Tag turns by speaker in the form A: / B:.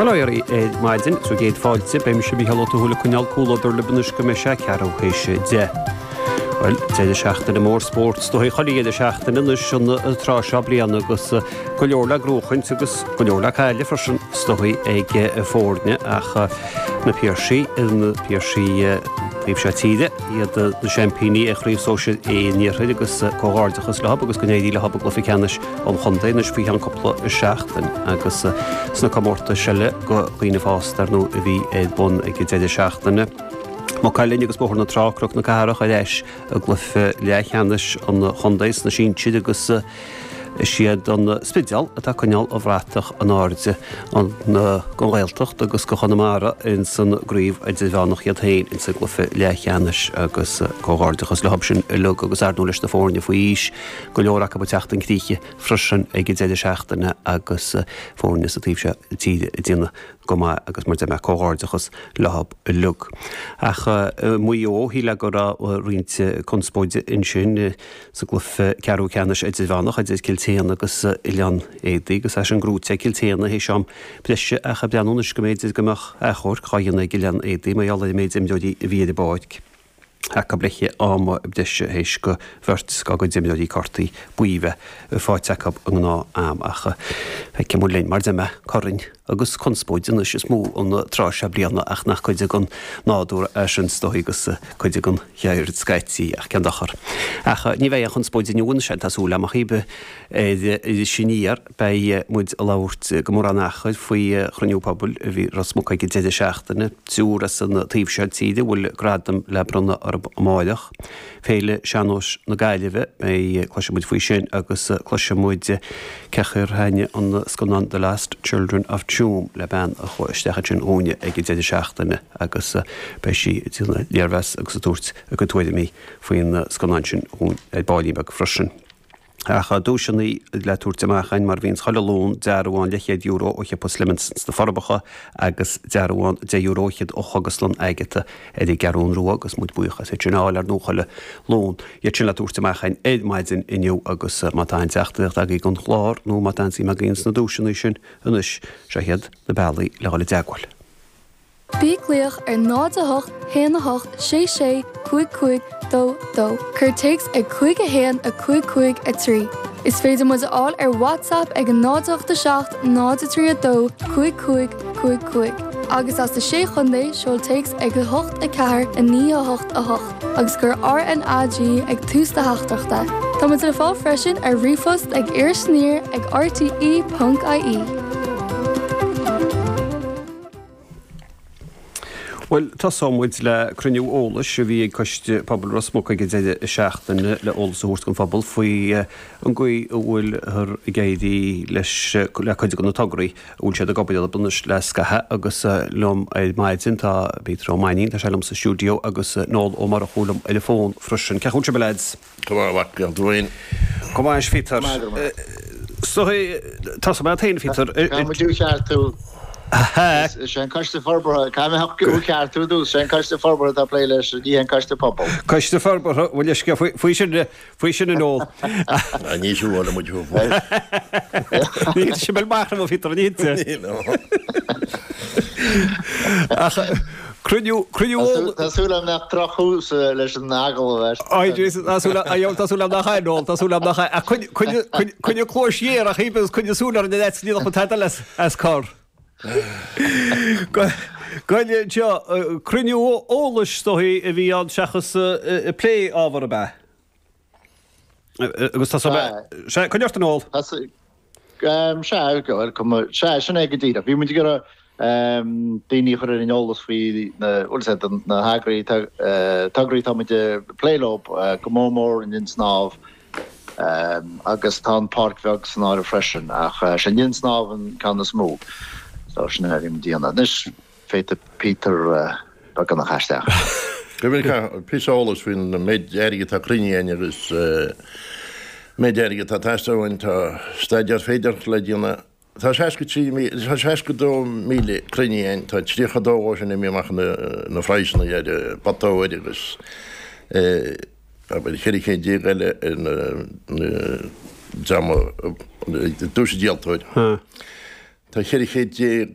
A: Bhuel a ar maidin, sa gcéad fáilte, beidh mise Mícheál Ó Tuathail ag coinneáil comhluadar libh anois go mbeidh sé ceathrú théis 10. Bhuel, deireadh seachtaine mór spóirt is dóigh chuile dheireadh seachtaine anois an tráth seo bliana agus go leor le gnóchaint agus go leor le cailleadh freisin is dóigh ag foirne ach na Piarsaigh, na Piarsaigh taobh seo tíre, iad na seaimpíní ar Chraobh Sóisir A an Iarthair agus comhghairdeachas leo agus go n-éirí leo i gcluiche ceannais an chontae anois faoi cheann cúpla seachtain agus sna comórtais eile do dhaoine fásta ar ndóigh a bhí ar bun ag an deireadh seachtaine. Maigh Cuilinn agus Bóthar na Trá, Cnoc na Cathrach ar ais i gcluiche leathcheannais an chontae sna sinsir agus is iad an Spidéal atá ag coinneáil an bhratach in airde don Ghaeltacht agus do Chonamara ins an gcraobh idirmheánach iad féin ins an gcluiche leathcheannais agus comhghairdeachas leo sin uilig agus ar ndóigh leis na foirne faoi aois go leor acu ag teacht chun críche freisin ag an deireadh seachtaine agus foirne sa taobh seo tíre ag déanamh go maith agus mar a deir mé comhghairdeachas leo uilig. Ach i Maigh Eo, shílfeá go raibh roinnt conspóide ansin sa gcluiche ceathrú ceannais idirmheánach idir Cill tSéadhna agus Oileán Éadaí agus é sin gnóite ag Cill tSéadhna théis am breise ach ag breathnú anois go mb'fhéidir go mbeadh achomharc á dhéanamh ag Oileán Éadaí mar gheall ar an méid imreoirí a bhí ar an bpáirc. acu le am breise théis do bheirt dá gcuid imreoirí cártaí buí bheith faighte acu i ngnáth am ach feicfidh muid linn mar a deir mé corainn agus conspóid anois is mó an tráth seo bliana ach nach cuid den nádúr é sin is dóigh agus cuid den cheird scaití ach cén dochar. Ach ní bheidh aon chonspóid inniu anois tá súil agam ach ar Iris Aniar. Beidh muid ag labhairt gan mórán achair faoi chruinniú pobail a bhí i Ros Muc ag an deireadh seachtaine. Triúr as an taobh seo tíre a bhfuil gradam le bronnadh orthu amáireach. Féile Sean-Nóis na Gaillimhe, beidh, cloisfidh muid faoi sin agus cloisfidh muid cén chaoi ar thaitnigh an scannán The Lost Children of Tuam le bean a chuaigh isteach ansin dhúinne ag an deireadh seachtaine agus beidh sí ag déanamh léirmheas agus ag tabhairt a cuid tuairimí faoin scannán sin dhúinn ar baillín beag freisin. Ach duaiseanna le tabhairt amach againn mar a bhíonns chuile Luan, dearbhán leathchéad euro ó shiopa Slimmins sna Forbacha agus dearbhán €10 fhichead ó Chógaslann Agatha ar an gCeathrún Rua agus muid buíoch as iad sin a fháil ar ndóigh chuile Luan. Iad sin le tabhairt amach againn ar maidin inniu agus má tá aon teachtaireacht agaibh don chlár nó má tá aon suim agaibh sna duaiseanna sin anois, seo iad na bealaí le dhul i dteagmháil.
B: Bí ag glaoch ar 0 8 1 8 6 6 5 5 2 2. Cuir téacs ag 5 1 5 5 3. Is féidir muid a fháil ar WhatsApp ag 0 8 7 0 3 2 5 5 5 5. Agus as na Sé Chontae, seol téacs ag 8 4 9 8 8 agus cuir RNAG ag tús do theachtaireachta. Tá muid le fáil freisin ar ríomhphost ag irisaniar ag rte.ie.
A: Bhuel, tosóidh muid le cruinniú eolais a bhí ag Coiste Pobail Ros Muc ag an deireadh seachtaine le eolas a thabhairt don phobal faoi an gcaoi a bhfuilthear ag éirí leis le cuid de na tograí a bhfuil siad ag obair orthu anois le scaitheamh agus liom ar maidin tá Peter Ó Mainnín, tá sé liom sa stiúideo agus Noel Ó Murchú liom ar an bhfón freisin. Cén chaoi a bhfuil sibh a leaids?
C: Go maith, a mhac, go maith.
A: Go maith, a Phíotair. Tosóidh mé ort féin, a Phíotair.
D: Caithfidh muid thú a cheartú. Is é an Coiste Forbartha, caithfidh mé thú a cheartú ar dtús, is é an Coiste Forbartha atá ag plé leis, ní hé an Coiste Pobail.
A: Coiste Forbartha, bhuel leithscéal faoi sin, faoi sin a Noel.
C: Ní siúlóidh muid thú fós.
A: Ní hé sin amach, a Phíotair, ní hé. Ach cruinniú, cruinniú
D: eolais. Tá súil agam nach drochthús leis an agallamh é.
A: Ai Jesus, tá súil agam, tá súil agam nach é, Noel, tá súil agam nach é. Ach coinnigh, coinnigh, coinnigh, coinnigh cluais ghéar ach agus coinnigh súil ar an leat ní nach bhfuil tada as, as cor. Goile anseo, cruinniú eolais is dóigh a bhí ann seachas plé ábhar ab ea? Agus tá sé, coinnigh ort a Noel.
D: Sea, bhuel, sea, sin é go díreach. Bhí muid ag iarraidh daoine a chur ar an eolas faoi na, bhuel, sea, na heagraí, tograí atá muid ag plé leo, go mór mór an Linn Snámh agus tá an Páirc Bheag san áireamh freisin, ach sé an Linn Snámh an ceann is mó. So sin é a bhí muid a dhéanamh. Anois, Féadfaidh Peter beagán a chur isteach.
C: Go píosa eolais faoin méid airgid atá cruinnithe againn agus méid airgid atá ag teastáil uainn. Tá staidéar féideartha le déanamh. Tá 63, tá 62,000 cruinnithe againn. Tá 32 dhó sin imithe amach na phraghsanna ar pota óir agus abair 14 céad eile ar na dream a dúirt an díoltóir. Tá 14 céad.